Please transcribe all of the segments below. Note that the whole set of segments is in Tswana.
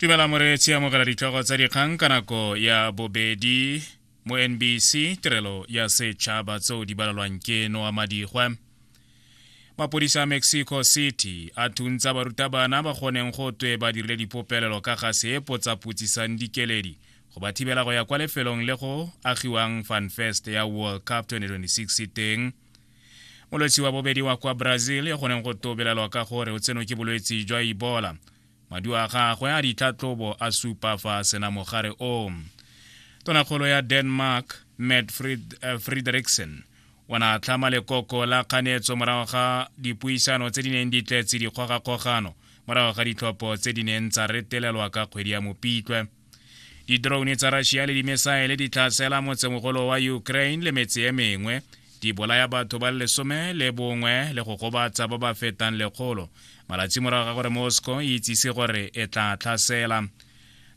Dumela moreetsi, amogela ditlhogo tsa dikgang ka nako ya bobedi mo NBC, tirelo ya setšhaba, tseo di balelwang ke Noa Madigwe. Mapodisa a Mexico City a thuntsa barutabana ba goneng go twe ba dirile dipopelelo ka ga se potsapotsisang dikeledi go ba thibela go ya kwa lefelong le go agiwang Fanfest ya World Cup 2026 teng. Molwetsi wa bobedi wa kwa Brazil yo go neng go tobelelwa ka gore o tsenwe ke bolwetsi jwa Ebola, maduo a gagwe a ditlhatlhobo a supa fa a sena mogare o. Tonakgolo ya Denmark, Mette Frederiksen, o ne a tlhama lekoko la kganetso morago ga dipuisano tse di neng di tletse dikgogakgogano morago ga ditlhopho tse di neng tsa retelelwa ka kgwedi ya Mopitlwe. Di-drone tsa Russia le dimesaele di tlhasela motsemogolo wa Ukraine le metse e mengwe, di bolaya batho ba le 11 le go gobatsa ba ba fetang 100, malatsi morago ga gore Moscow e itsise gore e tla tlhasela.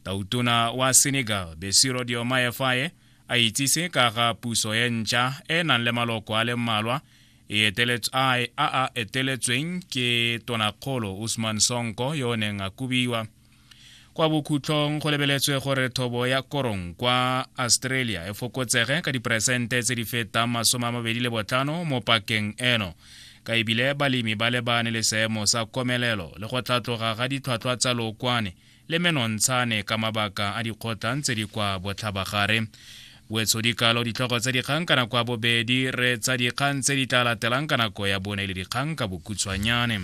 Tautona wa Senegal, Bassirou Diomaye Faye, a itsise ka ga puso e ntšha e nang le maloko a le mmalwa e a a eteletsweng ke tonakgolo Ousmane Sonko yo o neng a kobiwa. Kwa bokhutlong go lebeletswe gore thobo ya korong kwa Australia e fokotsege ka diperesente tse di fetang 25 mo pakeng eno, ka ebile balemi ba lebane le seemo sa komelelo le go tlhatloga ga ditlhwatlhwa tsa lookwane le menontshane ka mabaka a dikgotlang tse di kwa botlhabagare. Wetsho dikalo ditlhogo tsa dikgang ka nako ya bobedi, re tsa dikgang tse di tla latelang ka nako ya bone le dikgang ka bokhutshwanyane.